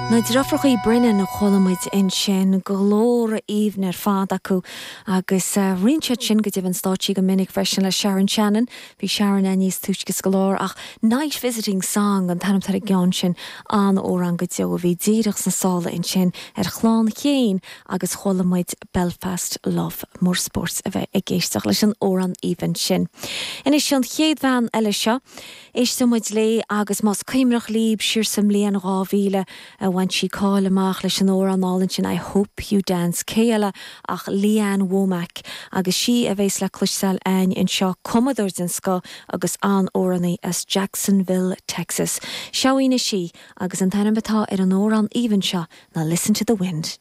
Na deirfiúrachaí Brennan a chuala muid ansin, glór aoibhinn ar fad acu agus roinn siad sin go deimhin stáitsí go minic freisin le Sharon Shannon. Bhí Sharon ann níos túisce sa gclár ach Night Visiting Song an t-ainm atá ar an gceann sin, an-amhrán go deo a bhí díreach sna sála ansin ar Chlann Chéin agus chuala muid Belfast Love. Mór spóirt a bheith ag éisteacht leis an amhrán aoibhinn sin. Anois an chéad bhean eile seo. Éisteoidh muid léi agus más cuimhneach libh siar sa mbliain 2000 a bhain sí cáil amach leis an amhrán álainn sin I Hope You Dance. Cé eile ach Lee Ann Womack agus sí a bhéas le cloisteáil a'ainn anseo, cumadóir den scoth agus an-amhránaí as Jacksonville, Texas. Seo í anois í agus an t-ainm atá ar an amhrán aoibhinn seo ná Listen to the Wind.